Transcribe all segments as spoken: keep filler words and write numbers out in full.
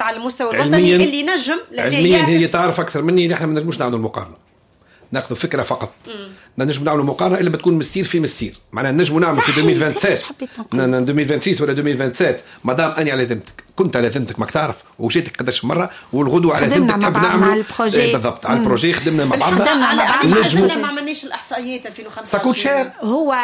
الاحصائيات على المستوى الوطني اللي نجم علميا هي تعرف اكثر مني. نحن ما نجموش نعملوا المقارنه، ناخذ فكرة فقط. نجم نعملوا مقارنة الا بتكون مستير في مستير، معناها نجموا نعملوا في ألفين وسبعة وعشرين، ألفين وستة وعشرين ولا ألفين وسبعة وعشرين. مادام اني على ذمتك، كنت على ذمتك، ماك تعرف وجيتك قداش مره، والغدوه على ذمتك تحب نعمل ال projet. إيه بالضبط، على ال projet خدمنا مع بعضنا. خدمنا مع بعضنا. نجموا ما عملناش الاحصائيات ألفين وخمسة وعشرين. ça coûte cher. هو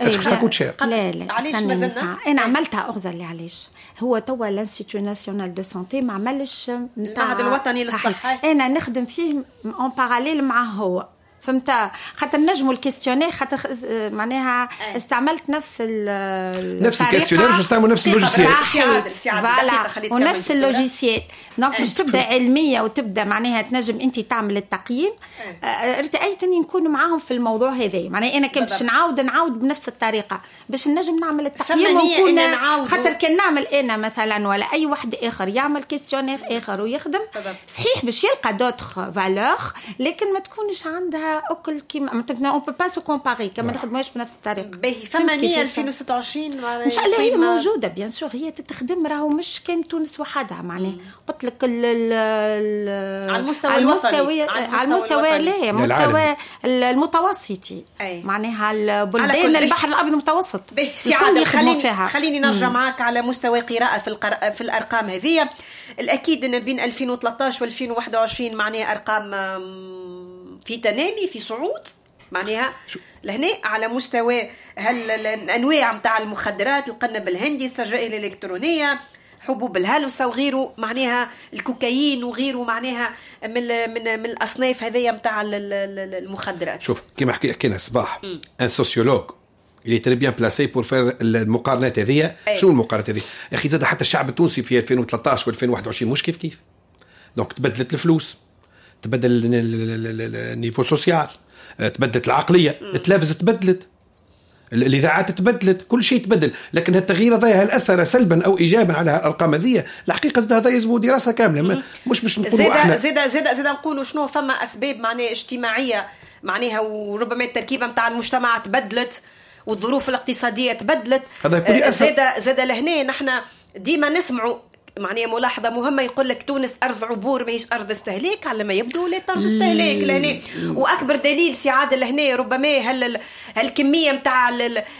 est-ce que ça coûte cher؟ لا لا، علاش مازلنا؟ انا عملتها اغزر لي علاش. هو توا l'Institut national de santé ما عملش. المعهد الوطني للصحه. انا نخدم فيه en parallèle معه هو، فهمت؟ خاطر نجموا ال questionnaire، خاطر معناها استعملت نفس ال نفس ال questionnaire، باش نستعملوا نفس ال logiciel. voilà، ونفس ال logiciel، donc باش تبدا علمية وتبدا معناها تنجم انت تعمل التقييم. ارتأيت اني نكون معاهم في الموضوع هذا، معناها انا كان باش نعاود نعاود بنفس الطريقة باش نجم نعمل التقييم ونكون، خاطر كان نعمل انا مثلا ولا اي واحد اخر يعمل questionnaire اخر ويخدم، صحيح باش يلقى d'autres valeurs، لكن ما تكونش عندها اكل كيما on peut pas se comparer كما نخدموش بنفس الطريقه. باهي، فما نية ألفين وستة وعشرين؟ ان شاء الله هي موجوده، bien sûr هي تتخدم، راهو مش كان تونس وحدها، معناها قلت لك ال ال على المستوى على المستوى، على المستوى، لا، المستوى المتوسطي، معناها البلدان البحر الابيض المتوسط. سي عادل، خليني خليني نرجع معك على مستوى قراءة في القر... في الارقام هذه. الاكيد ان بين ألفين وثلاثة عشر و ألفين وواحد وعشرين معناها ارقام في تنامي، في صعود، معناها لهنا على مستوى هل الانواع نتاع المخدرات، القنب الهندي، السجائر الالكترونيه، حبوب الهلوسه وغيره، معناها الكوكايين وغيره، معناها من من من الاصناف هذيا نتاع المخدرات. شوف، كما حكي حكينا الصباح، un sociologue il est très bien placé pour faire المقارنات هذه. شنو المقارنات هذه؟ يا اخي زاد حتى الشعب التونسي في ألفين وثلاثة عشر و ألفين وواحد وعشرين مش كيف كيف، donc تبدلت الفلوس، تبدل ال niveau social، تبدلت العقليه، التلفزة تبدلت، الاذاعات تبدلت، كل شيء تبدل. لكن التغيير هذا هل اثر سلبا او ايجابا على الارقام هذه؟ الحقيقة هذا يلزم دراسة كامله، مش باش نقولوا احنا زيد زيد زيد نقولوا شنو فما اسباب معناها اجتماعيه، معناها وربما التركيبة نتاع المجتمع تبدلت والظروف الاقتصادية تبدلت. هذا يكون زاد زاد لهنا نحن ديما نسمعوا معناها ملاحظة مهمه، يقول لك تونس ارض عبور ماهيش ارض استهلاك. على ما يبدو لا ارض استهلاك لهنا، واكبر دليل سي عادل لهنا ربما هل هالكميه نتاع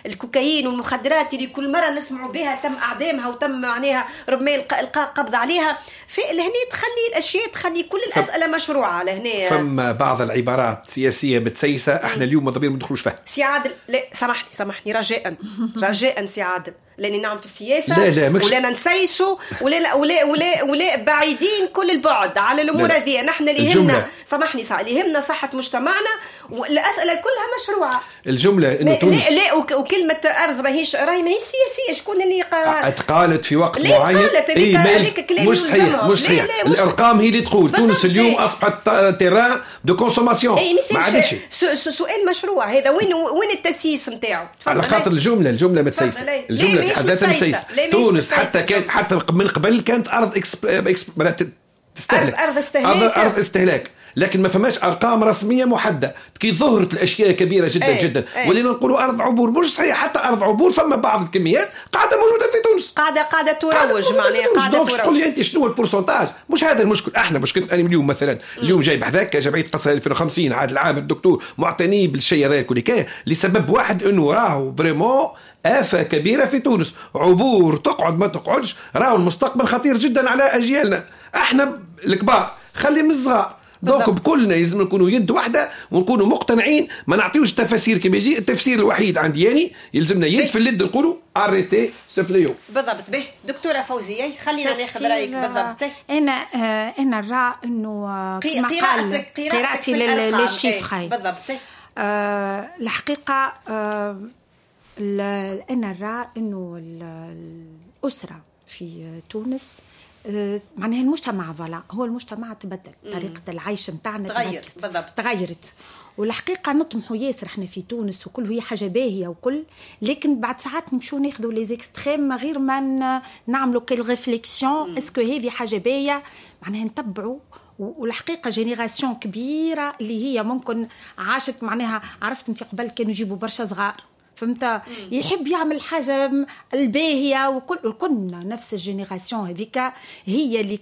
الكوكايين والمخدرات اللي كل مرة نسمعوا بها تم اعدامها وتم معناها ربما القاء قبض عليها في لهنا، تخلي الاشياء، تخلي كل الاسئلة مشروعه لهنا. فما بعض العبارات سياسية متسيسه، احنا اليوم ماذا بينا ما ندخلوش فيها. سي عادل، لا سامحني سامحني، رجاء رجاء سي عادل، لاني نعم في السياسه. لا لا. مكش ولا نسيسوا ولا ولا ولا ولا بعيدين كل البعد على الامور هذه. نحن اللي يهمنا، سامحني صح، اللي يهمنا صحة مجتمعنا، والاسئلة كلها مشروعه. الجملة انه تونس لا لا، وكلمه ارض ماهيش راهي ماهيش سياسيه، شكون اللي قال؟ تقالت في وقت معين. تقالت هذيك إيه، مش صحيح، مش صحيح. الارقام هي اللي تقول تونس اليوم اصبحت terrain de consommation. ما عادتش. سؤال مشروع هذا، وين وين التسييس نتاعو؟ على خاطر الجمله الجمله متسيسه، الجملة في حد ذاتها متسيسه. تونس حتى كانت حتى من قبل كانت ارض ex ex تستهلك، ارض استهلاك. ارض, أرض استهلاك، لكن ما فماش ارقام رسمية محدده. كي ظهرت الاشياء كبيرة جدا ايه جدا ايه ولينا نقولوا ارض عبور. مش صحيح، حتى ارض عبور فما بعض الكميات قاعدة موجودة في تونس. قاعدة قاعدة تروج، معناها قاعدة تروج. تقول لي انت شنو ال pourcentage؟ مش هذا المشكل. احنا مشكلة انا اليوم مثلا، اليوم جاي بحذاك جمعية قصر ألفين وخمسين، عادل العامر الدكتور معتني بالشيء هذا الكل لسبب واحد، انه راهو vraiment آفة كبيرة في تونس، عبور تقعد ما تقعدش، راهو المستقبل خطير جدا على أجيالنا احنا الكبار، خلي من الصغار. donc بكلنا لازم نكونوا يد واحدة ونكونوا مقتنعين، ما نعطيوش تفاسير كما يجي. التفسير الوحيد عندي يعني يلزمنا يد في اليد نقولوا arrêtez ce fléau. بالضبط. به دكتورة فوزيه، خلينا ناخذ رايك بالضبط. انا آه، انا نرى انه آه، كما قال قراءتي لل chiffres بالضبط. آه الحقيقة آه انا نرى انه الاسرة في تونس، آه، معناها المجتمع، voilà، هو المجتمع تبدل، طريقة العيش نتاعنا تغيرت. بالضبط. تغيرت، والحقيقة نطمحوا ياسر احنا في تونس وكل، هي حاجة باهية وكل، لكن بعد ساعات نمشوا ناخذوا les extrêmes غير ما نعملوا quelle réflexion، est-ce que هذه حاجة باهية؟ معناها نتبعوا، والحقيقة génération كبيرة اللي هي ممكن عاشت، معناها عرفت انت قبل كانوا يجيبوا برشا صغار، فهمت؟ يحب يعمل حاجة الباهيه وكل. كنا نفس ال génération هذيك هي اللي